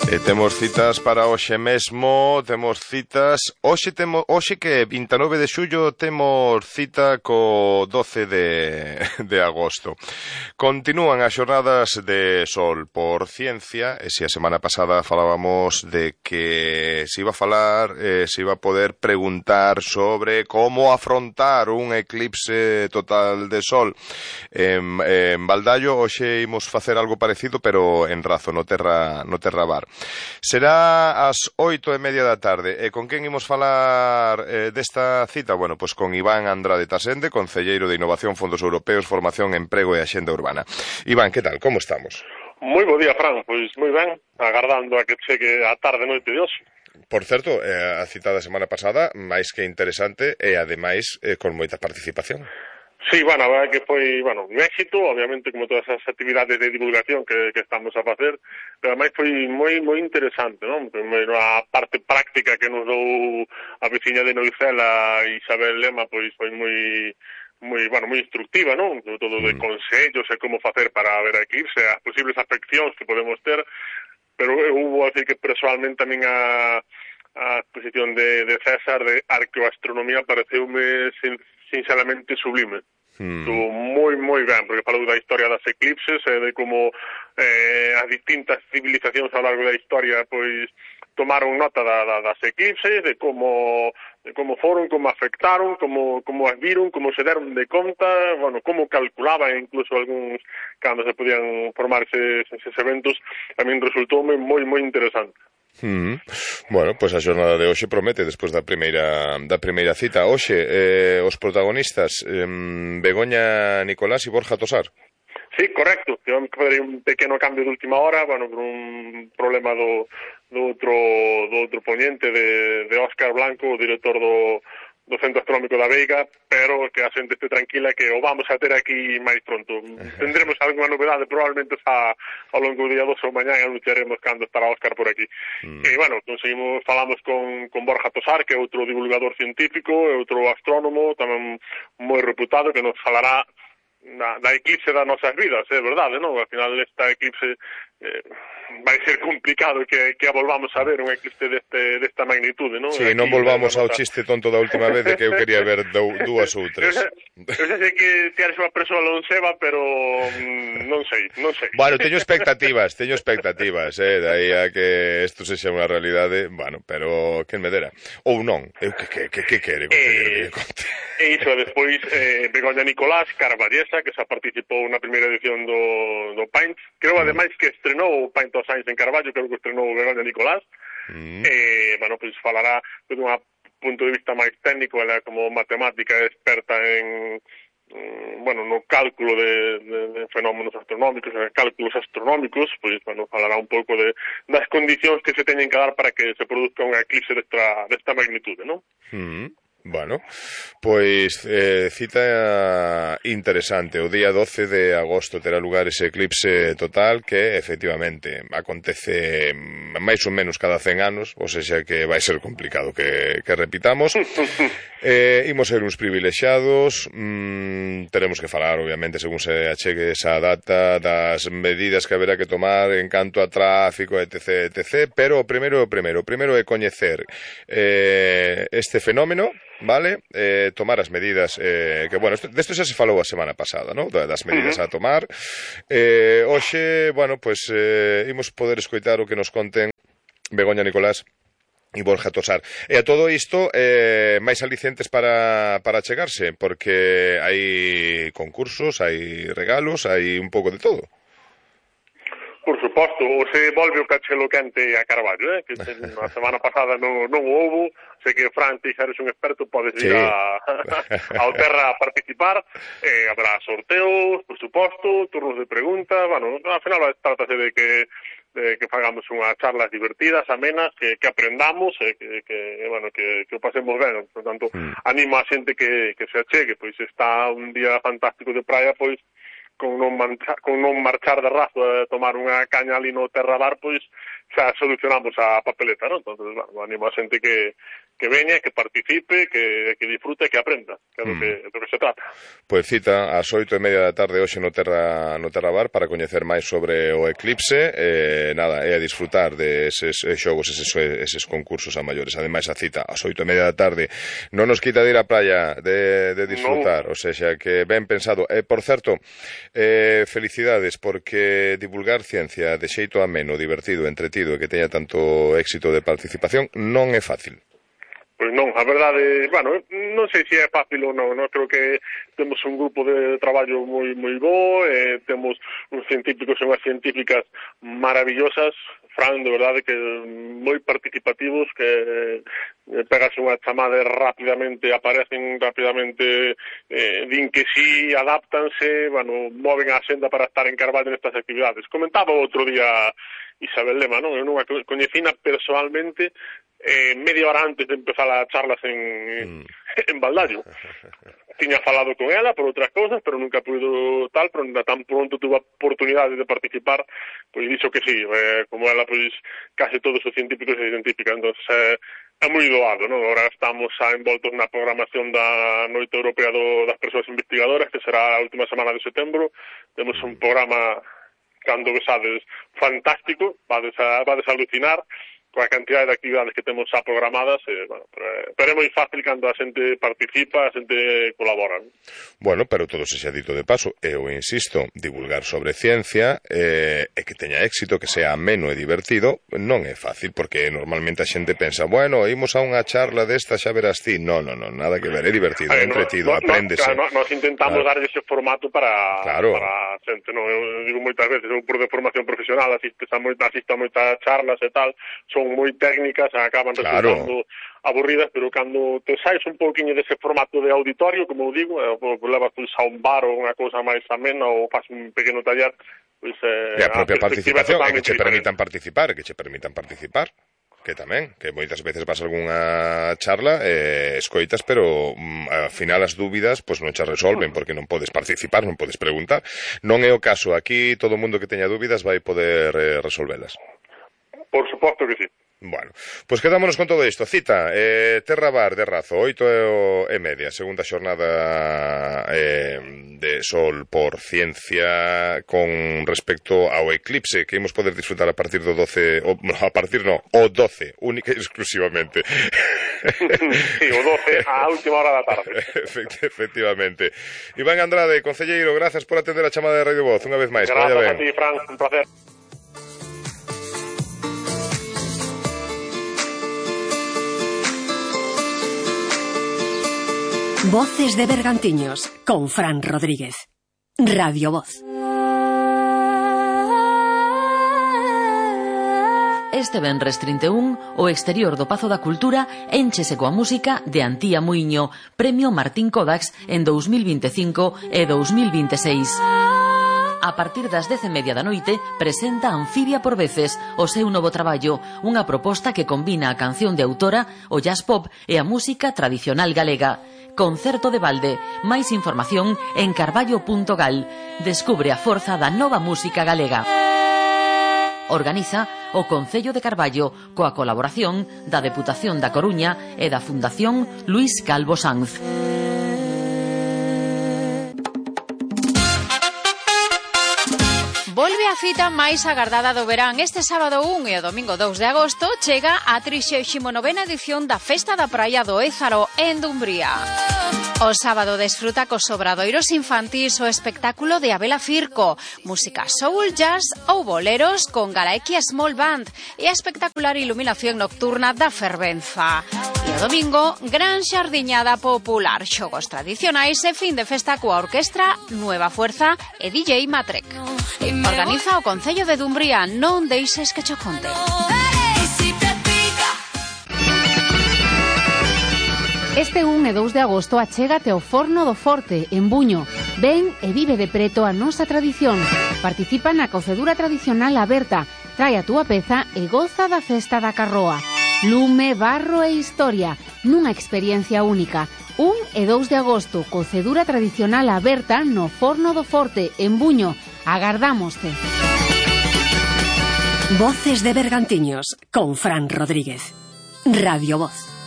Temos citas para hoxe mesmo, temos citas, hoxe que 29 de xullo temos cita co 12 de agosto. Continúan as xornadas de sol por ciencia, e se a semana pasada falábamos de que se iba a falar, se iba a poder preguntar sobre como afrontar un eclipse total de sol en Baldallo, hoxe imos facer algo parecido, pero en Razo, no Terra Bar. Será ás 8:30 da tarde. E con quen imos falar desta cita? Bueno, pois con Iván Andrade Tasende, concelleiro de Innovación, Fondos Europeos, Formación, Emprego e Axenda Urbana. Iván, que tal? Como estamos? Moi bo día, Fran. Pois moi ben, agardando a que chegue a tarde noite de hoxe. Por certo, a cita da semana pasada, máis que interesante e, ademais, con moita participación. Sí, bueno, a verdade que foi, un éxito, obviamente, como todas as actividades de divulgación que estamos a facer, pero ademais foi moi interesante, non? Primeiro a parte práctica que nos dou a veciña de Noicela, Isabel Lema, pois foi moi instructiva, non? Todo de consellos e como facer para ver a eclipse, as posibles afeccións que podemos ter, pero hubo a decir que personalmente tamén a exposición de César de arqueoastronomía pareceume sinceramente sublime. Estuvo moi ben, porque falou da historia das eclipses e de como as distintas civilizacións ao largo da historia pois tomaron nota das eclipses, de como foron, como afectaron, como as viron, como se deron de conta, como calculaban incluso algúns cando se podían formar eses eventos. A min resultou moi interesante. Bueno, pois a xornada de hoxe promete despois da primeira cita. Hoxe, os protagonistas Begoña Nicolás e Borja Tosar. Sí, correcto. Tivemos que fazer un pequeno cambio de última hora, por un problema do outro ponente de Óscar Blanco, o director do Centro Astronómico da Veiga, pero que a xente este tranquila que o vamos a ter aquí máis pronto. Tendremos algunha novedade, probablemente ao longo do día 2 ou mañá, anunciaremos cando estará Óscar por aquí. E, falamos con Borja Tosar, que é outro divulgador científico, é outro astrónomo, tamén moi reputado, que nos falará da eclipse das nosas vidas, é verdade, non? Al final esta eclipse vai ser complicado que a volvamos a ver un eclipse desta magnitude, non? Sí, non volvamos ao chiste tonto da última vez de que eu quería ver dúas ou tres. Eu sei que ti eres unha persoa lonseva, pero non sei. Bueno, teño expectativas, de aí a que isto sexa unha realidade, pero quen me dera. Ou non, eu que quere, concelleiro, que conte. E iso, despois, Begoña Nicolás, Carballesa, que xa participou na primeira edición do Paint. Creo, ademais, que estrenou o Paint of Science en Carballo, creo que estrenou Begoña Nicolás. Falará desde un punto de vista máis técnico, ela como matemática experta no cálculo de fenómenos astronómicos, en cálculos astronómicos, falará un pouco das condicións que se teñen que dar para que se produzca unha eclipse desta magnitude, non? Bueno, pois cita interesante. O día 12 de agosto terá lugar ese eclipse total que efectivamente acontece máis ou menos cada 100 anos, ou seja que vai ser complicado que repitamos. Imos ser uns privilexiados, teremos que falar obviamente según se achegue esa data das medidas que haberá que tomar en canto a tráfico, etc, pero o primeiro é coñecer este fenómeno, vale? Tomar as medidas desto xa se falou a semana pasada, ¿no? Das medidas a tomar. Hoxe, imos poder escoitar o que nos conten Begoña Nicolás e Borja Tosar. E a todo isto, máis alicientes para chegarse, porque hai concursos, hai regalos, hai un pouco de todo. Por suposto, se volve o cachelo quente a Carballo, que a semana pasada non houbo. Sei que, Fran, ti xa eres un experto, podes ir ao Terra a participar. Habrá sorteos, por suposto, turnos de preguntas. Ao final trátase de que fagamos unhas charlas divertidas, amenas, que aprendamos, que o pasemos ben. Por tanto, animo a xente que se achegue, pois está un día fantástico de praia, pois con non marchar de razo a tomar unha caña ali no Terra Bar, pois xa solucionamos a papeleta, non? Entón, animo a xente que veña, que participe, que disfrute, que aprenda, que é do que se trata. Pois cita ás 8:30 da tarde hoxe no Terra Bar para coñecer máis sobre o eclipse, nada, é a disfrutar deses xogos, eses concursos a maiores. Ademais a cita ás 8:30 da tarde non nos quita de ir á praia de disfrutar, o sea que ben pensado. Por certo, felicidades, porque divulgar ciencia de xeito ameno, divertido, entretido e que teña tanto éxito de participación non é fácil. Pois non, a verdade, bueno, non sei se é fácil ou non, creo que temos un grupo de traballo moi bo, temos uns científicos e unhas científicas maravillosas, Fran, de verdade que moi participativos, que pegase unha chamada rapidamente, aparecen rapidamente, din que sí, adáptanse, bueno, moven a senda para estar en Carballo nestas actividades. Comentaba outro día Isabel Lema, non? Eu non a coñecina personalmente media hora antes de empezar as charlas en Baldaio. Tiña falado con ela por outras cousas, pero nunca puido tal, pero tan pronto tuve a oportunidade de participar, pois dixo que sí, como ela, pois case todos os científicos e científicas, entón é moi doado, non? Agora estamos envoltos na programación da Noite Europea das Persoas Investigadoras, que será a última semana de setembro. Temos un programa, cando besades, fantástico, vades a alucinar coa cantidad de actividades que temos xa programadas, bueno, pero é moi fácil cando a xente participa, a xente colabora, non? Bueno, pero todo se xa dito de paso, eu insisto, divulgar sobre ciencia e que teña éxito, que sea ameno e divertido, non é fácil, porque normalmente a xente pensa, bueno, imos a unha charla desta, xa verás ti. Non, nada que ver, é divertido, é entretido, apréndese. Nos intentamos dar ese formato para a xente, non? Eu digo moitas veces, eu por de formación profesional asisto a moitas charlas e tal, son moi técnicas, acaban resultando aburridas, pero cando te sais un pouquinho dese formato de auditorio, como eu digo, levas a un bar ou unha cousa máis amena ou faz un pequeno taller, pois e a propia participación, que che permitan participar, que tamén, que moitas veces vas a algunha charla escoitas, pero ao final as dúbidas pois non che resolven, porque non podes participar, non podes preguntar. Non é o caso, aquí todo o mundo que teña dúbidas vai poder resolvelas. Por suposto que sí. Bueno, pois quedámonos con todo isto. Cita, Terra Bar de Razo, 8:30, segunda xornada de Sol por Ciencia con respecto ao eclipse que imos poder disfrutar a partir do 12, o 12, única e exclusivamente. Sí, o 12 a última hora da tarde. Efectivamente. Iván Andrade, concelleiro, grazas por atender a chamada de Radio Voz unha vez máis. Grazas a ti, Fran, un placer. Voces de Bergantiños, con Fran Rodríguez. Radio Voz. Este venres 31, o exterior do Pazo da Cultura énchese coa música de Antía Muiño, Premio Martín Kodax en 2025 e 2026. A partir das 10:30 da noite presenta Anfibia por veces o seu novo traballo, unha proposta que combina a canción de autora, o jazz pop e a música tradicional galega. Concerto de balde. Máis información en carballo.gal. Descubre a forza da nova música galega. Organiza o Concello de Carballo coa colaboración da Deputación da Coruña e da Fundación Luís Calvo Sanz. Volve a cita máis agardada do verán. Este sábado 1 e o domingo 2 de agosto chega a 39ª edición da Festa da Praia do Ézaro en Dumbría. O sábado desfruta cos obradoiros infantís o espectáculo de Abela Firco, música soul, jazz ou boleros con Galaequia Small Band e a espectacular iluminación nocturna da Fervenza. E o domingo, gran xardiñada popular, xogos tradicionais e fin de festa coa orquestra Nueva Fuerza e DJ Matrek. Organiza o Concello de Dumbría, non deixes que cho conte. Este 1 e 2 de agosto achégate ao Forno do Forte, en Buño. Ven e vive de preto a nosa tradición. Participa na cocedura tradicional aberta, trae a túa peza e goza da festa da carroa. Lume, barro e historia, nunha experiencia única. 1 e 2 de agosto, cocedura tradicional aberta no Forno do Forte, en Buño. Agardámoste. Voces de Bergantiños, con Fran Rodríguez. Radio Voz.